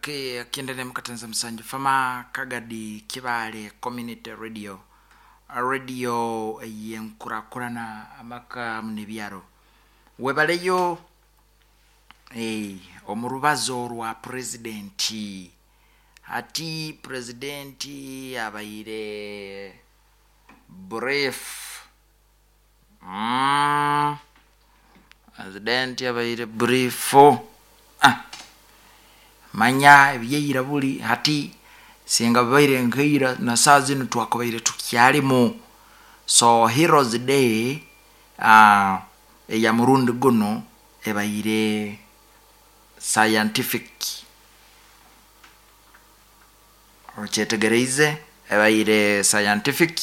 Okay, akiendele mukatenza musanju fama Kagadi Kibale Community Radio, radio yenkurakurana amaka munebyaro webaleyo omurubazo rwa presidenti. Ati presidenti abaire brief. Presidenti abaire brief. Manya ebyeira buli hati singa babaire nkeira na saa zinu twakubaire tukyalimu. So Heroes Day eya murundi guno ebaire scientific, okyetegereize, ebaire scientific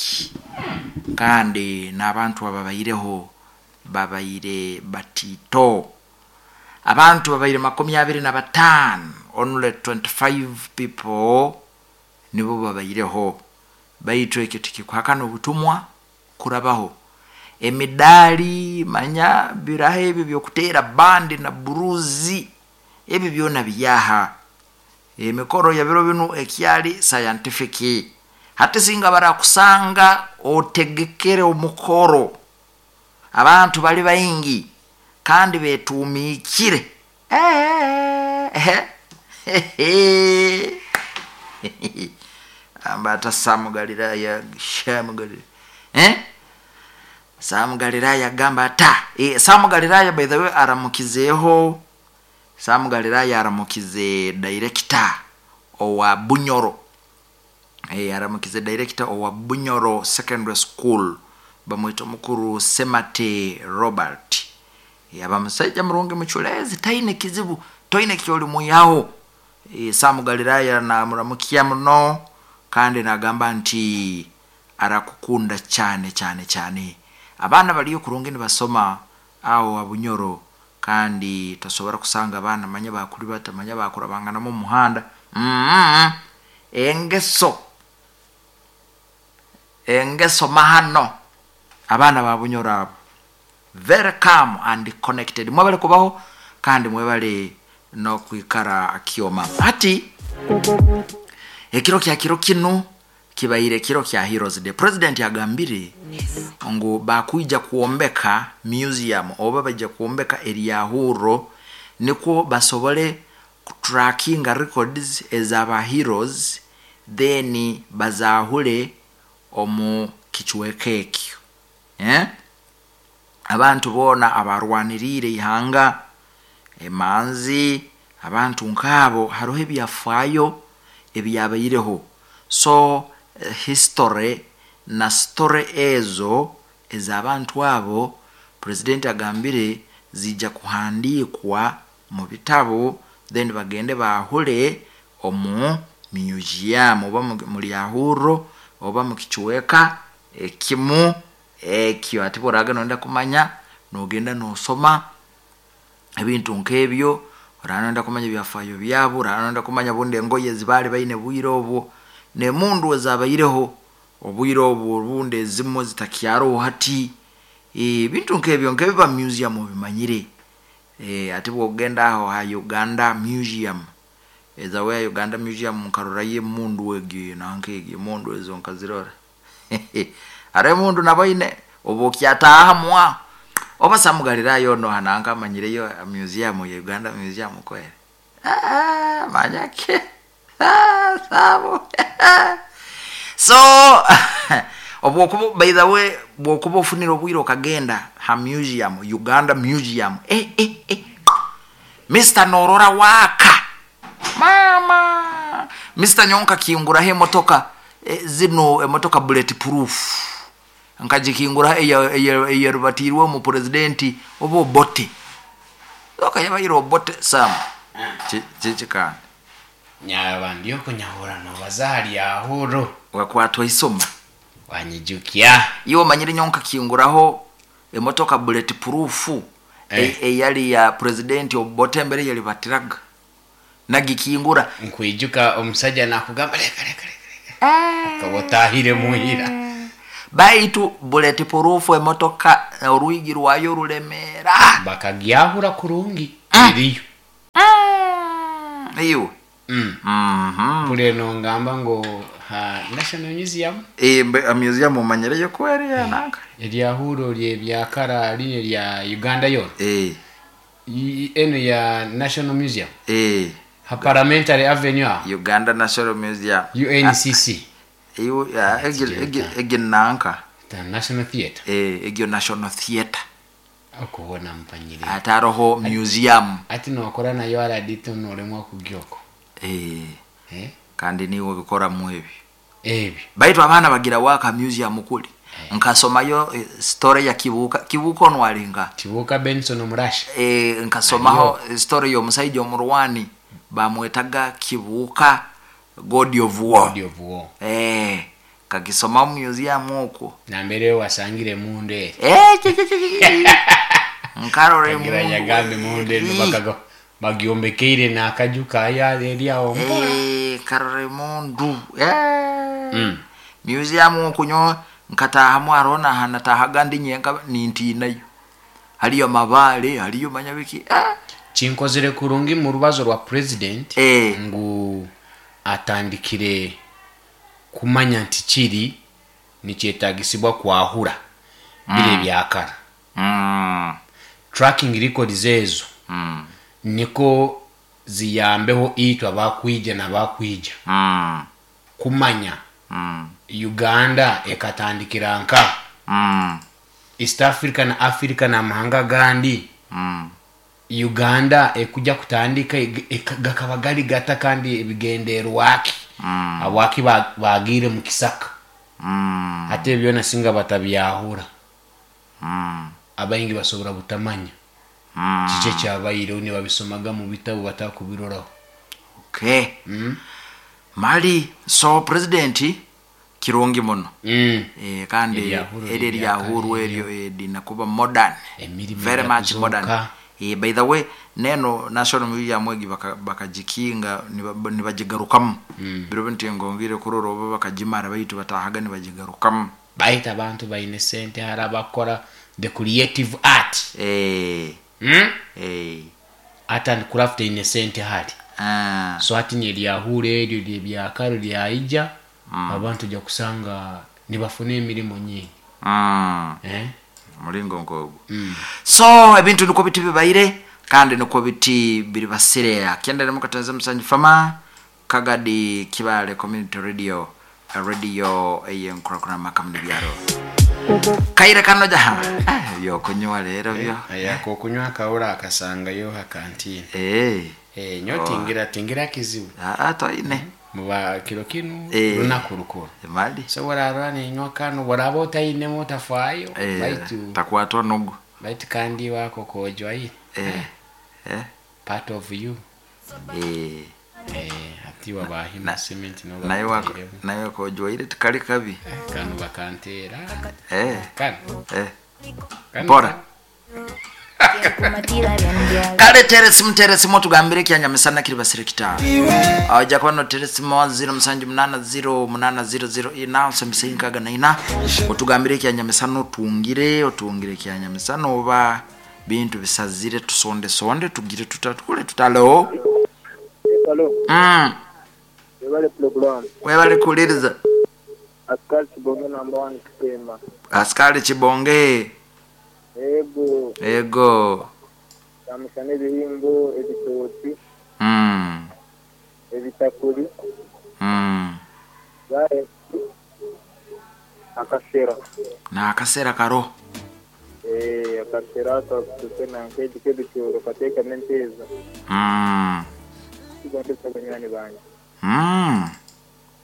kandi n'abantu ababaireho babaire batito. Abantu babaire 25, only 25 people nibo babaireho, baitu ekyo tikikuhakana obutumwa kurabaho. Emidaali manya biraho ebyo byokutera bandi na buruzi, ebyo byona byaha. Emikoro ya biro binu ekyali scientific. Hati singa barakusanga otegekere omukoro, abantu bali baingi kandi betumikire. Ambata Samu Galilaya, Shamu Galilaya. Samu Galilaya gamba ata. Samu Galilaya by the way aramukizeho. Samu Galilaya aramukize director owa Bunyoro. Aramukize director owa Bunyoro Secondary School, bamwita mukuru Semate Robert. Aba musajja murungi muchulezi, taine kizibu, toine kyoli muyaho. Samu Galilaya na muramukia muno kandi nagamba nti arakukunda cyane cyane cyane. Abana baliyo kurungi nibasoma aho Abunyoro, kandi tosobora kusanga abana manya bakuri batamanya bakura bangana mu muhanda. Engeso mahano abana ba Bunyoro abo very calm and connected. Mwebale kubaho kandi mwebale no kwikara akioma. Ati ekiro kya kiro kino kibaire kiro kya Heroes Day. President yagambire ngu bakuija kuombeka museum oba baija kuombeka eryahuro nikwo basobole kutrackinga records ezaba heroes, then bazahure omu kichweka ekyo. Abantu bona abarwanirire ihanga emanzi, abantu nkabo hariho ebyafaayo ebyabaireho. So history na story ezo ez'abantu abo president agambire zija kuhandikwa mu bitabo, then bagende bahure omu museum oba mu lyahurro oba mu kichweka ekimu ekyo. Ati boraga nonda kumanya nogenda nosoma ebintu nk'ebyo, oraba nonda kumanya ebyafaayo byabo, oraba nonda kumanya bundi engoye zibali baine bwire obwo nemundu ezabaireho obwire obwo obundi ezimwe zitakyaroho hati. Ebintu nk'ebyo nkebiba museum obimanyire. Ati bwogenda aho ha Uganda Museum, ezawe ya Uganda Museum nkarorayo emundu egyo nanka egyo emundu ezo nkazirora. Hariho emundu naboine obu okyataaha mwa oba Samu Galilaya ono hananka amanyireyo museum ya Uganda Museum kweri. Manyake. Samu. So obwokuba by the way bwokuba ofunire obwire okagenda ha museum, Uganda Museum. Mr. Norora waka. Mama. Mr. Nyonka kinguraho emotoka zino emotoka bullet proof. Nkagikingura eyarubatirwe mu presidenti oba Obote. Oka yabaire Obote Sam. Kikanda. Nyaba ndiyo kunyahura nobazali ahuro. Wakwatwa isoma. Wanyijukia. Iyo manyire nyonka kinguraho emotoka bullet proof. Eyali ya presidenti Obote mbere yali batiraga. Nagikingura. Nkwijuka omusajja nakugamba leka leka leka. Akabotahire muhira. Baitu bullet proof emotoka oruigi rwayo rulemera. Bakagyahura kurungi. Iriyo. Iyo. Mhm. Mpura eno ngamba ngu ha National Museum. Eh, museum omanyireyo kweri yananka. Eryahuro lyebyakara linye lya Uganda yona. Eh. Eno ya National Museum. Eh. Ha Parliamentary Avenue. Uganda National Museum. UNCC. Iyo egi nanka. The National Theatre. Eh, egyo National Theatre. Okubona mpanyire. Ataroho museum. Ati nokora nayo aradito noremwa kugyoko. Eh. Eh? Kandi niwe bikoramu ebi. Ebi. Baitu abaana bagira waka museum kuli. Nkasomayo story ya Kibuuka. Kibuuka ono alinga. Kibuuka Benson Omurasha. Eh, nkasomaho story y'omusajja omurwani bamwetaga Kibuuka God of War. God of War. Eh, kakisoma museum okwo. Nambere wasangire mundu eri. Eh, nkarore mundu. Yagambe mundu eri bakaga bagyombekeire n'akaju kaya eri awo mpola. Eh, karore mundu. Eh. Museum okwo nyo nkatahamu arona hanatahaga ndi nyenka nintinayo. Haliyo mabale, haliyo manyabiki. Kinkozere kurungi mu rubazo rwa president ngu atandikire kumanya nti kiri nikyetagisibwa kwahura bire byakara. Tracking records ezo niko ziyambeho itwa bakwija na bakwija kumanya Uganda ekatandikira nka East Africa na Africa na mahanga gandi. Uganda ekuja kutandika gakaba gali gata kandi ebigenderwaki abwaki bagire mu kisaka. Ate byona singa batabyahura. Abaingi basobora butamanya. Kiche kyabaire ni babisomaga mu bitabo batakubiroraho. Okay. Mali so president kirungi muno. Kandi eri lyahuru eryo dinakuba modern. Very much modern. By the way neno National Museum egi bakajikinga nibajigarukamu. Biro bintu ngongire kuroro oba bakajimara baitu batahaga nibajigarukamu. Baita abantu baine sente harabakora the creative art. Art and craft ine sente hari. So ati ni lyahure eryo lyebyakaro lyaija. Abantu ja kusanga nibafune emirimu nyingi. Mulingo nkogo. So ebintu niko biti bibaire kandi niko biti biribasirea. Kienda mukatanza musanju fama Kagadi Kibale Community Radio radio eyenkura makamni byaro. Kaire kano jaha. Byo kunywa rero byo. Ayako kunywa kaura akasanga yo hakantine. Nyo tingira kizibu. Toine. Muba kiro kinu lunaku rukuru. Mali. So wararwa nenywa kano waraba otaine motafaayo. Baitu takwatwa nogo. Baitu kandi wako kojwa hii. Part of you. Ati wabahima cement no. Nayo kojwa ile tikali kabi. Kano bakantera. Kano. Bora. Kale teresi motugambire kyanyamisana kiri basire kita. Aja kwano teresi mo 078080 ina semsinkaga na ina. Otugambire kyanyamisana otungire kyanyamisana oba bintu bisazire tusonde sonde tugire tutakule tutalo. Hello. Webale program. Webale kuliriza. Askari Chibonge number 1 Kitema. Askari Chibonge. Ego. Ego. Kamushane ebihimbo ebitoki. Ebitakuli. Bae. Akasera. Na akasera karo. Akasera akasera nkeji kebitoro kateka menteza. Kigonde sabanyani banje.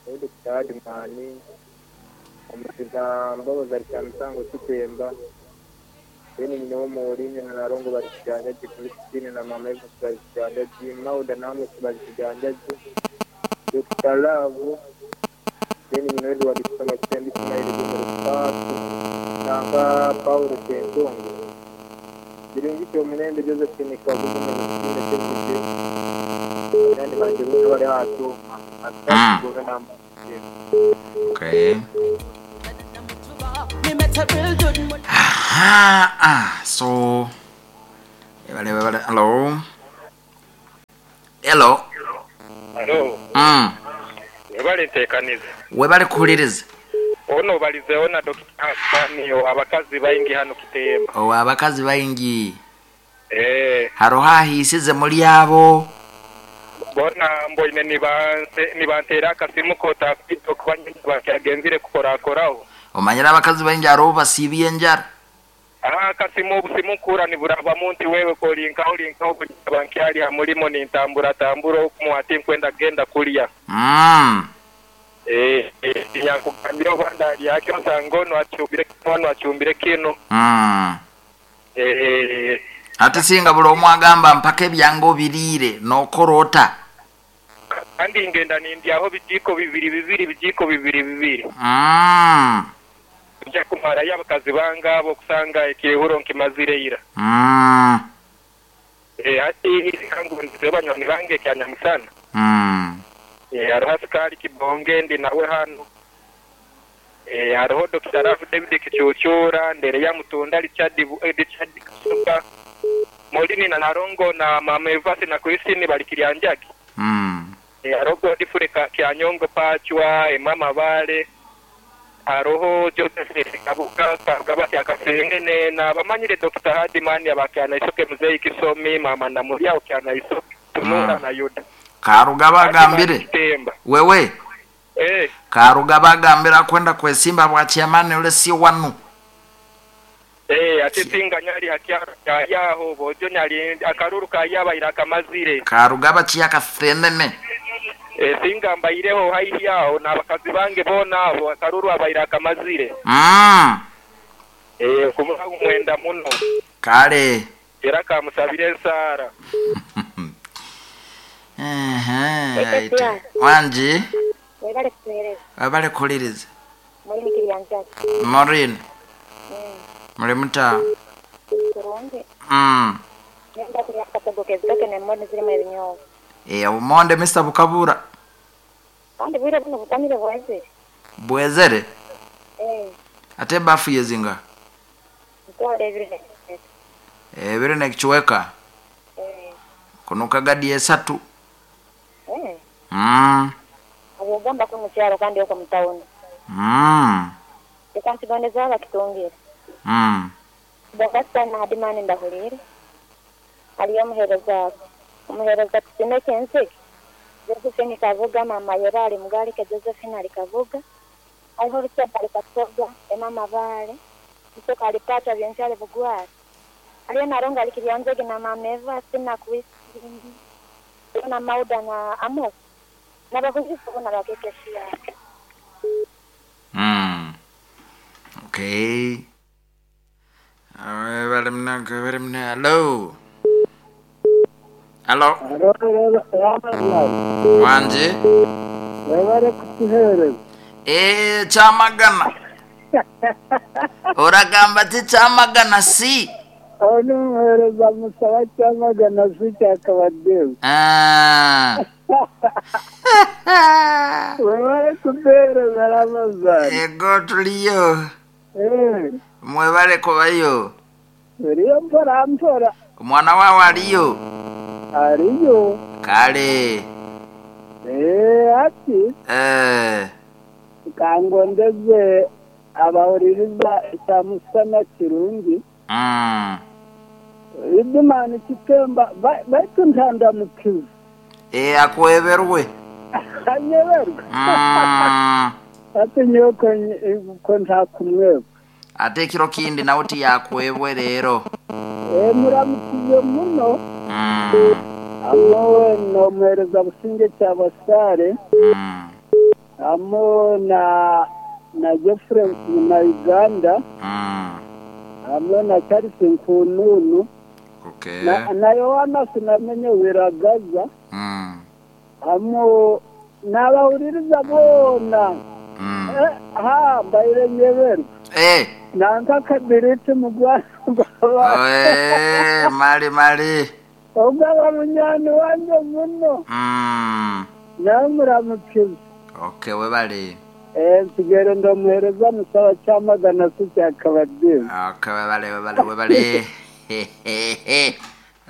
Ego kitadi mani. Omusiza mbabaza cyamisango kitemba. Beni nyina w'umurinyi na narongo bari kijanja Christine na mama Eva bari kijanja Mauda namwe bari kijanja Dr. Love beni nyina wedu wali kusoma kitembi Ismail Gumurupatu nanga Paulo Kentongo Birungi cyo munende Josephine Kagugu na Christine Chekije nandi banje bose bari hatu atatu na. Okay. So hello. Hello. Alo. Webale ntekaniza. Webale kuhuliriza. Ono obalizeho na Dokita Hassan owa bakazi baingi hano Kitemba. Owa bakazi baingi. Eeh. Haroho ahiisize muli abo? Bona mboine nibanteera akasimu k'otakwija okuba nyine bakyagenzire kukorakoraho. Omanyire abakazi baingi haroho obubasiibya enjara. Aha akasimu obusimu nkuhurra niburabamu nti wewe k'olinkaho olinkaho buli naba nkyali ha mulimo nintamburatambura omu ati nkwenda kugenda kulya. Eeh tinyakugambire oba ndalya ki osanga onu acumbire kinu onu acumbire kinu. Eeh. Ate singa buli omu agamba mpaka ebyange obiriire nokora ota? Kandi ngenda nindyaho bijiiko bibiri bibiri bijiiko bibiri bibiri. Nja kumarayo abakazi bange abo okusanga ekyehuro nkimazire ira. Hati leka ngundizeho banywani bange ekya nyamusana. Haroho Asikaali Kibonge ndi nawe hanu. Haroho Dokita Love David Kicuucuura, Ndereya Mutunda Richard Richard Kasuba, Morini na Nalongo na Maama Evasi na Christine bali Kiryanjagi. Haroho Godfrey Kyanyongo Pacwa, Emma Mabale, Haroho Joseph Kabuga, Karugaba Kyakasengene n'abamanyire Dokita Hardman aba Kyanaisoke, Muzeeyi Kisomi, Maama Namulya o Kyanaisoke, Tunura na Yuda. Karugaba Hardman agambire. Kitemba. Wewe. Eh. Karugaba agambire akwenda kwesimba bwa chairman ole si wanu. Eh, ate singa nyali ha kyaro kya yaho, bojo nyali akaruru ka yabaire akamazire. Karugaba kyakathenene. Eh, singa mbaireho haihi agho n'abakazi bange boona abo, akaruru abaire akamazire. Eh, kuba mwenda muno. Kale. Era kamusabire ensaara. Ehe, aite. Wangi. Webale kutuhereza. Webale kuhuliriza. Maureen Kiryanjagi. Maureen. Muli muta? Kurungi. Nenda kulya akatogo k'ebitoke n'emondi zirimu ebinyobwa. Eh, obumonde Mister bukabura. Kandi bwire buno bukamire bwezere. Bwezere? Eh. Ate ebafu yezinga? Ntwara ebiri n'ekicweka. Ebiri n'ekicweka? Eh. Kunuka gadi esatu. Eh. Obwogamba ku mukyalo kandi okwo mu tawuni. Leka nkigondeze abakitungire. Bakasita na Hadimani ndahuliire. Haliyo omuheereza omuheereza Tusiime Kyensige, Josephine Kabuga, Maama Yera ali Mugalike, Josephine ali Kabuga, hariho Richard ali Kasoga, Emma Mabale, Musoke ali Pacha, Byensi ali Bugwara. Haliyo Narongo ali Kiryanzege na Maama Eva, Sina Christine, hariyo na Mauda na Amos. N'abahuliiriza boona ba KKCR. Okay. Webale muna, webale muna. Hello. Hello. Wangi. Webale kutuheereza. Eh, Kyamagana. Oragamba ti Kyamagana si. Onu muheereza musaba Kyamagana si kyakabaddewo. Ah. Webale kutuheereza Ramazani. Ego tuliyo. Eh. Mwebale kubayo. Tuliyo mpora mpora. Omwana wawe aliyo? Aliyo. Kale. Eh, ati. Eh. Kangondeze abahuliriza ekyamusana kirungi. Idimani Kitemba baitu ntandamukiza. Eh, akweberwe. Anyeberwe. Ati nyowe ko ntakumwebwa. Ate ekiro kindi nawe tiyakwebwe leero. Eh, muramukize muno. Amo n'omuheereza Businge Kyabasaare. Amo na Geoffrey na Uganda. Amo na Charles Nkununu. Okay. Na Yohana sinamenye Wiragaza. Amo n'abahuliriza boona. Ha, mbaire nyeberwe. Eh. Nanka kabiriti mu Rwanda. Eh, mali mali. Ogaba munyani wange muno. Nawe muramukiza. Okay, webale. Eh, nsigere ndomuhereza musaba Kyamagana si kyakabaddewo. Okay, webale webale webale.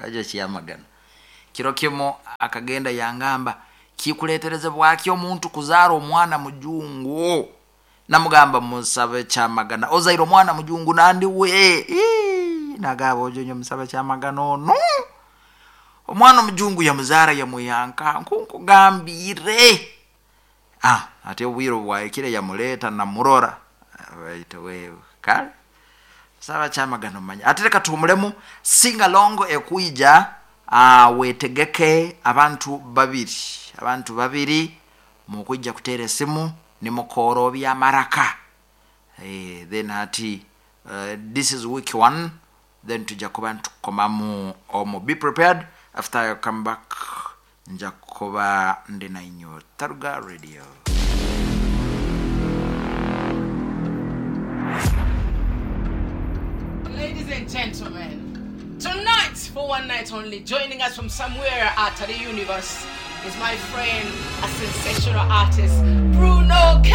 Ajo Kyamagana. Kiro kimu akagenda yangamba Kikuleeterezebwaki omuntu kuzaara omwana mujungu? Namugamba, musabe kyamagana, ozaire omwana mujungu nandi we. Ii, nagamba ojonyo musabe kyamagana ono omwana omujungu yamuzaara yamwihanka nkunkugambire. Ate obwire obwahikire yamuleeta namurora, baitu wewe kale saba kyamagana omanya. Ate reka tuhumulemu singalong ekwija. Wetegeke abantu babiri, abantu babiri mukwija kuteera esimu nimukoorobya amaraka. Then hati this is week one, then tujja kuba nitukukomamu omu. Be prepared, after I come back nja kuba ndi nainywe. Taruga Radio. Ladies and gentlemen, tonight, for one night only, joining us from somewhere out of the universe is my friend, a sensational artist, Bruno K.